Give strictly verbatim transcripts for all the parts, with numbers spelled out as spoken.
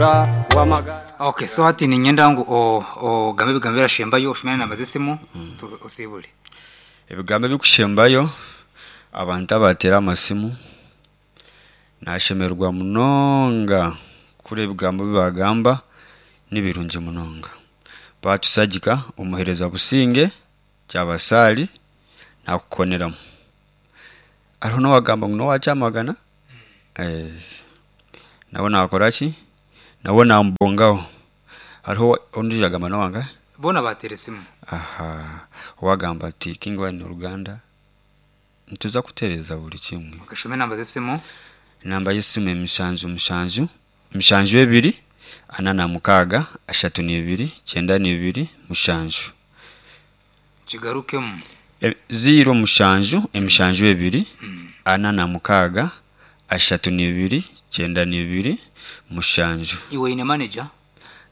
Wamagara. Okay, so hati ninyenda ngu o- ogambe ebigambo birashembayo, oshumire enamba z'esimu, tu- osiibure. Ebigambo ebikushembayo, abantu abateera amasimu nashemererwa munonga kuri ebigambo bibagamba nibirungi munonga. Batusagika omuhereza Businge Kyabasaali nakukoneramu. Hariho n'owagamba ngu n'owa Kyamagana, eh, nawe nakora ki, nawe namubongaho. Hariho ondiijo yagamba n'owangahe? Boona bateera esimu. Aha, owagamba ati King Wine Oruganda nituza kutereeza buri kimwe. Okay, shuma enamba z'esimu. Enamba y'esimu emishanju mushanju mushanju ebiri ana na mukaaga ashatu n'ibiri kyenda n'ibiri mushanju. Kigarukemu. E, ziro mushanju emishanju ebiri ana na mukaaga ashatu n'ibiri kyenda n'ibiri mushanju. Iwe oine manager?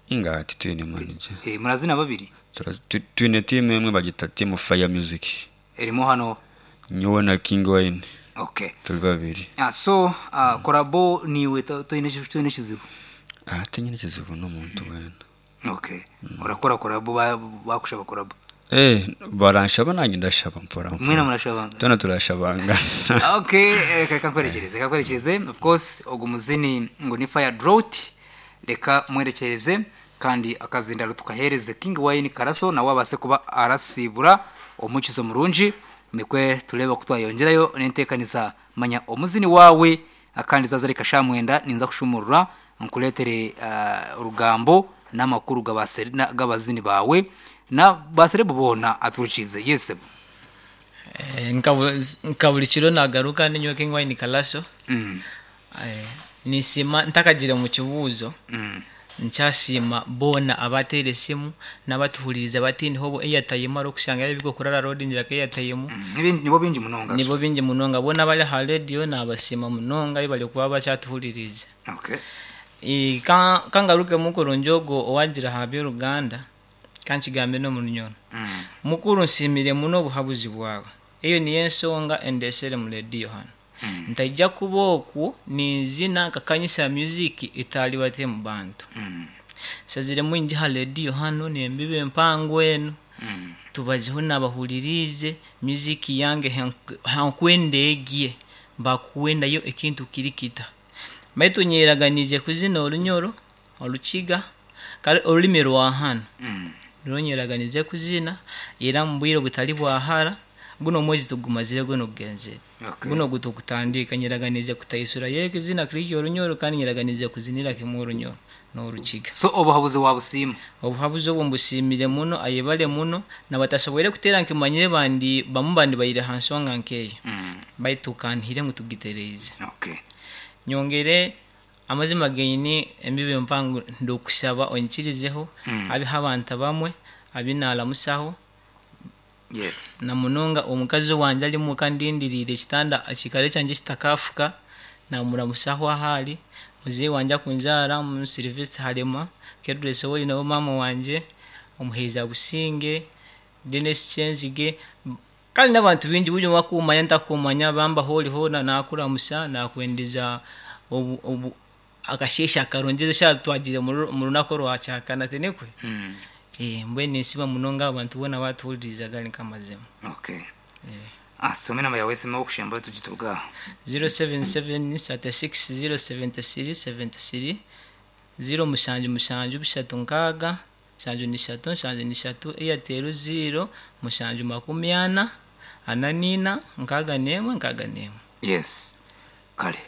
Inga titwine manager. Eh, murazina babiri? Tura- tu- Twine tiimu emwe bagita Team Fire Music. Erimu hano. Nyowe na King Wine Okay. turi babiri. Ah, so uh, korabo niwe to- toine toine ekizibu? Ah, tinyine ekizibu n'omuntu weena. Okay. Orakora korabo, ba- bakushaba korabo? Eh, baranshaba nange ndashaba mpora mpora. Mwena murashabanga? Twena turashabangana. Okay, eh, reka nkwerekereze, reka nkwerekereze. Of course ogu muzini ngu ni Fire Drought, reka mwerekereze kandi akazindaro tukahereze King Wine Karaso nawe abase kuba arasibura omukizo murungi, nikwe tureba ku twayongerayo n'enteekanisa. Manya omuzini wawe akandi zaza reka shamwenda ninza kushumurura nkuretere uh, orugambo n'amakuru g'abaseri- na- g'abazini bawe na baserebu boona aturikize. Yes. Eh, nka bu- nka buri kiro nagaruka ninyowe King Wine Kalaso. mm. Eh, nisima ntakagire mu kibuuzo. Mm. Nkyasiima boona abateera esimu n'abatuhuririza bati niho airtime ari okushanga yabigo kurara road ngira ko airtime. Mm. Nibi- nibo bingi munonga. Nibo bingi munonga, boona abari aha radio nabasiima munonga bari kuba bakyatuhuririza. Okay. Eh, ka- kangaruke mukuru njogo owagira aha by'oruganda kankigambe n'omurunyoro. Mm. Mukuru, nsiimire muno obuhabuzi bwawe, eyo niyo ensonga endesere mu rediyo hano. Mm. Ntaija kuba okwo ninzina nkakanyisa music etali bate mu bantu. Mm. Nsaziremu ngi ha rediyo hano nembiba empango eno. Mm. Tubazeho nabahuririze music yange hank- hankwendeegye mbakwendayo ekintu kiri kita baitu nyeraganize kuzina orunyoro orukiga kale orulimi rwa hano. Mm. Rwonyeraganize kuzina era mu bwire butali bwahara, guno omwezi tugumazire guno gugenzere. Okay. Guno gutukutandika nyeraganize kutaisura yeke zina kiryo orunyoro kandi nyeraganize kuzinira kimwe orunyoro n'orukiga. So obuhabuzi wabusiima? Obuhabuzi obwo mbusiimire muno, ayebale muno nabatasoboire kuteera nkimanyire bandi bamu bandi baire ha nsonga nkeeyo. Mm. Baitu kanhire ngu tugitereize. Okay. Nyongere amazima genyini embibo empango ndokushaba onyikirizeho. Mm. Abiho abantu abamwe abinaramusaho. Yes. Na munonga omukazi wanje ari muka ndindiriire ekitanda ekikare kyangye kitakafuka namuramusaho ahari muzeyi wanje akunzaara mu Silvestre Harema Kedress ori nawe maama wanje omuheeza Businge Dennis Kyenzige kandi n'abantu bingi buri omwe akumanya ntakumanya bambaho ori hoona nakuramusa nakwendeza obu, obu akasheeshe akarungi eshaaha twagire mu runaku orwa kyakana tinikwe. Mm. Eh, mbwenu ninsiima munonga abantu boona batuhuririza gari nk'amazima. Okay. Eh. Ah, soma enamba yawe esimu okushemba tugituruga. zero seven seven thirty-six zero seventy-three seventy-three, zero mushanju mushanju bishatu nkaaga nshanju nishatu nshanju nishatu, Airtel zero mushanju makumi ana ana nina nkaaga n'emwe nkaaga n'emwe. Yes. Kale.